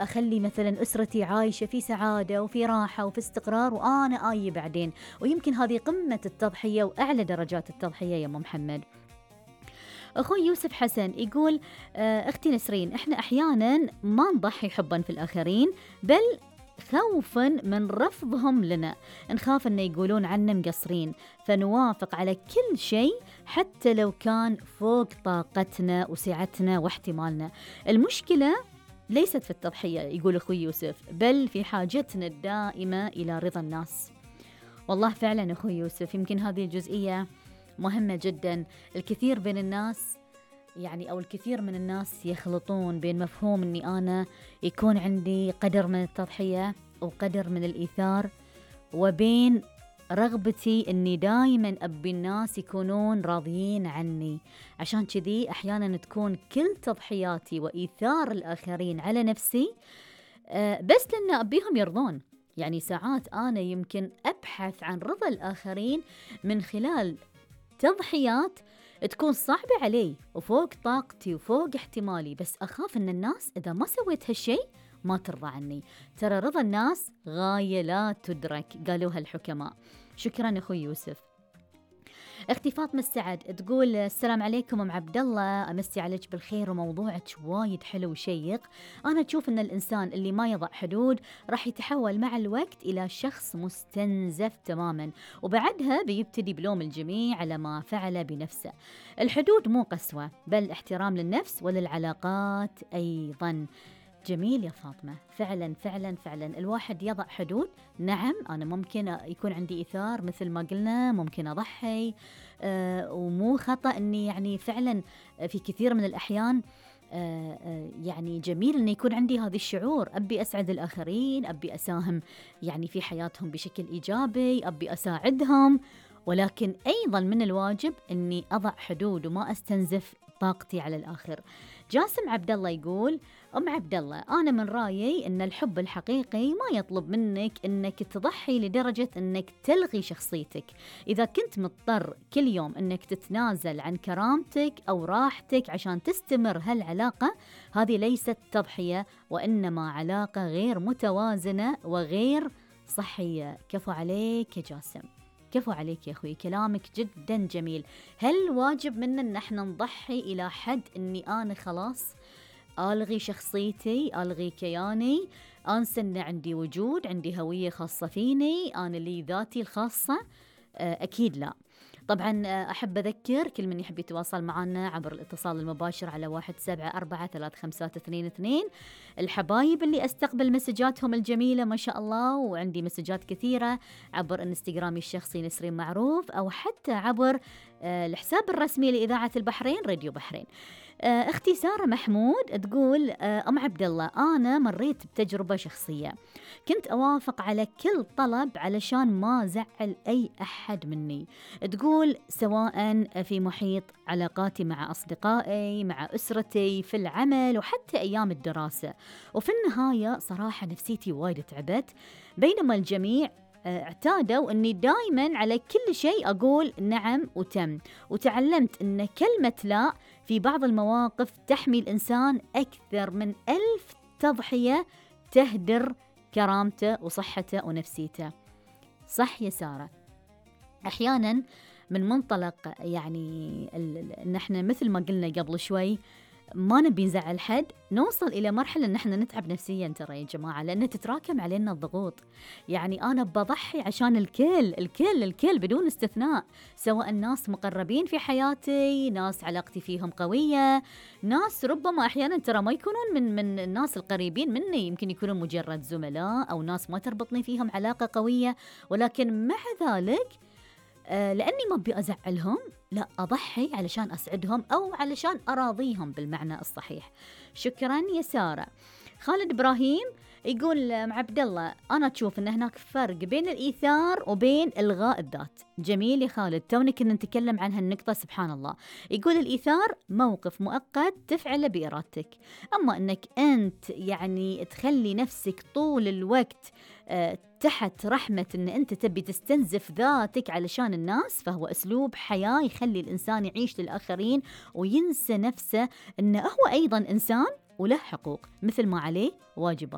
أخلي مثلا أسرتي عايشة في سعادة وفي راحة وفي استقرار، وأنا آي بعدين. ويمكن هذه قمة التضحية وأعلى درجات التضحية يا أم محمد. أخوي يوسف حسن يقول أختي نسرين، إحنا أحيانا ما نضحي حبا في الآخرين، بل خوفا من رفضهم لنا، نخاف أن يقولون عنا مقصرين، فنوافق على كل شيء حتى لو كان فوق طاقتنا وسعتنا واحتمالنا. المشكلة ليست في التضحية يقول أخوي يوسف، بل في حاجتنا الدائمة إلى رضا الناس. والله فعلا أخوي يوسف، يمكن هذه الجزئية مهمة جدا. الكثير من الناس يخلطون بين مفهوم أني أنا يكون عندي قدر من التضحية وقدر من الإيثار، وبين رغبتي أني دائما أبي الناس يكونون راضيين عني. عشان كذي أحيانا تكون كل تضحياتي وإيثار الآخرين على نفسي بس لأن أبيهم يرضون. يعني ساعات أنا يمكن أبحث عن رضا الآخرين من خلال تضحيات تكون صعبة علي وفوق طاقتي وفوق احتمالي، بس أخاف أن الناس إذا ما سويت هالشي ما ترضى عني. ترى رضا الناس غاية لا تدرك، قالوها الحكماء. شكرا أخوي يوسف. اختي فاطمة السعد تقول السلام عليكم أم عبد الله، أمسي عليك بالخير وموضوعك وايد حلو وشيق. أنا أشوف أن الإنسان اللي ما يضع حدود راح يتحول مع الوقت إلى شخص مستنزف تماما، وبعدها بيبتدي بلوم الجميع على ما فعل بنفسه. الحدود مو قسوة، بل احترام للنفس وللعلاقات أيضا. جميل يا فاطمة، فعلا فعلا فعلا الواحد يضع حدود. نعم أنا ممكن يكون عندي إيثار مثل ما قلنا، ممكن أضحي ومو خطأ أني يعني فعلا في كثير من الأحيان يعني جميل أن يكون عندي هذا الشعور، أبي أسعد الآخرين، أبي أساهم يعني في حياتهم بشكل إيجابي، أبي أساعدهم، ولكن أيضا من الواجب أني أضع حدود وما أستنزف طاقتي على الآخر. جاسم عبد الله يقول أم عبد الله، أنا من رأيي أن الحب الحقيقي ما يطلب منك أنك تضحي لدرجة أنك تلغي شخصيتك. إذا كنت مضطر كل يوم أنك تتنازل عن كرامتك أو راحتك عشان تستمر هالعلاقة، هذه ليست تضحية، وإنما علاقة غير متوازنة وغير صحية. كفو عليك يا جاسم، كفو عليك يا أخوي، كلامك جدا جميل. هل واجب منا أن احنا نضحي إلى حد أني أنا خلاص ألغي شخصيتي، ألغي كياني، أنسى أن عندي وجود، عندي هوية خاصة فيني، أنا لي ذاتي الخاصة؟ أكيد لا. طبعا أحب أذكر كل من يحب يتواصل معنا عبر الاتصال المباشر على 17435222. الحبايب اللي أستقبل مسجاتهم الجميلة ما شاء الله، وعندي مسجات كثيرة عبر انستغرامي الشخصي نسرين معروف، أو حتى عبر الحساب الرسمي لإذاعة البحرين راديو بحرين. أختي سارة محمود تقول أم عبد الله، أنا مريت بتجربة شخصية، كنت أوافق على كل طلب علشان ما زعل أي أحد مني. تقول سواء في محيط علاقاتي مع أصدقائي، مع أسرتي، في العمل، وحتى أيام الدراسة. وفي النهاية صراحة نفسيتي وايد تعبت، بينما الجميع اعتادوا أني دايما على كل شيء أقول نعم وتم. وتعلمت أن كلمة لا في بعض المواقف تحمي الإنسان أكثر من 1000 تضحية تهدر كرامته وصحته ونفسيته. صح يا سارة، أحيانا من منطلق يعني أن احنا مثل ما قلنا قبل شوي ما نبي نزعل حد، نوصل إلى مرحلة أن احنا نتعب نفسيا ترى يا جماعة، لأن تتراكم علينا الضغوط. يعني أنا بضحي عشان الكل بدون استثناء، سواء ناس مقربين في حياتي، ناس علاقتي فيهم قوية، ناس ربما أحيانا ترى ما يكونون من الناس القريبين مني، يمكن يكونون مجرد زملاء أو ناس ما تربطني فيهم علاقة قوية، ولكن مع ذلك لأني ما أبي أزعلهم، لا أضحي علشان أسعدهم أو علشان أراضيهم بالمعنى الصحيح. شكرا يا سارة. خالد إبراهيم يقول مع عبد الله، أنا تشوف أن هناك فرق بين الإيثار وبين إلغاء الذات. جميل يا خالد، توني كنا نتكلم عن هالنقطة سبحان الله. يقول الإيثار موقف مؤقت تفعله بإرادتك، أما أنك أنت يعني تخلي نفسك طول الوقت تحت رحمة أن أنت تبي تستنزف ذاتك علشان الناس، فهو أسلوب حياة يخلي الإنسان يعيش للآخرين وينسى نفسه أنه هو أيضا إنسان وله حقوق مثل ما عليه واجبات.